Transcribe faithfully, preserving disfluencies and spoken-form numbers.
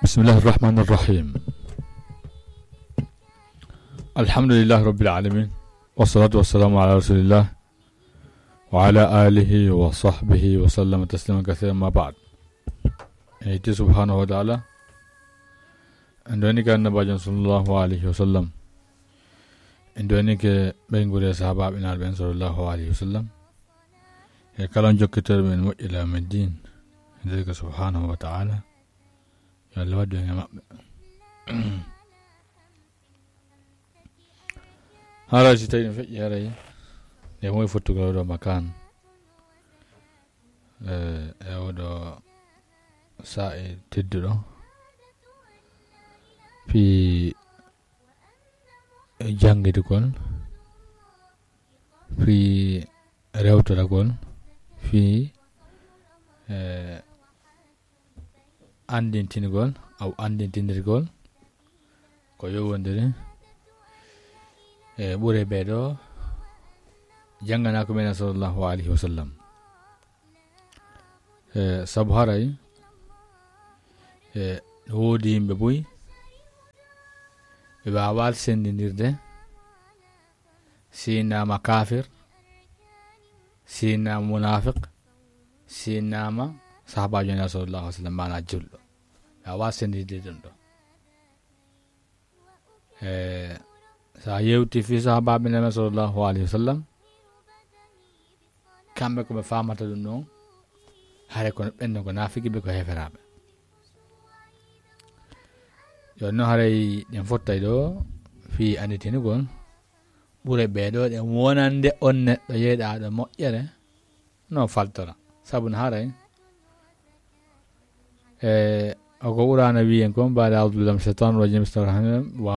بسم الله الرحمن الرحيم. الحمد لله رب العالمين، والصلاة والسلام على رسول الله وعلى آله وصحبه وسلم تسليما كثيرا، ما بعد. En yetti subhanahu wa ta'ala. En ɗowini ka annabajo sallallahu alayhi wa sallam. En ɗowini ke ɓeynguure sahabaɓe naaɓe ɓen sallallahu alayhi wa sallam. E kala on jokkitooɓe men moƴƴi ila yawmi ddin. En ɗowini ke subhanahu wa ta'ala. Yo Allah waɗu en e maɓɓe. Haray si tawi ɗum feƴƴi, haray nde moy fottugol ɗo makan. E, e oɗo sa'i tedduɗo. Fii janngitugol, fii rewtoragol, fii, e, anndintingol, aw anndintindirgol ko yowondiri e ɓure ɓee ɗo jannganaako men sallallahu alayhi wa sallam. E, sabu haray, e, no woodi yimɓe buy ɓe waawaa senndindirde, si naama kafir, si naama munafiq, si naama sahabaajo Nulaaɗo sallallahu alayhi wa sallam, maanaa julɗo. Ɓe waawaa senndindirde ɗum ɗo. E, so a yewti fii sahabaaɓe Nulaaɗo sallallahu alayhi wa sallam, kamɓe ko ɓe faamata ɗum ɗon, haray kono ɓen ɗon ko naafiki ɓe, ko heeferaaɓe. Yo no haray ɗen fottay ɗo fii anndintingol ɓure ɓee ɗo ɗen wonande on neɗɗo yeɗaaɗo moƴƴere no faltora. Sabu no haray, e, o ko Qur'aana wiyen kon, بعد أعوذ بالله من الشيطان الرجيم، بسم الله الرحمن الرحيم.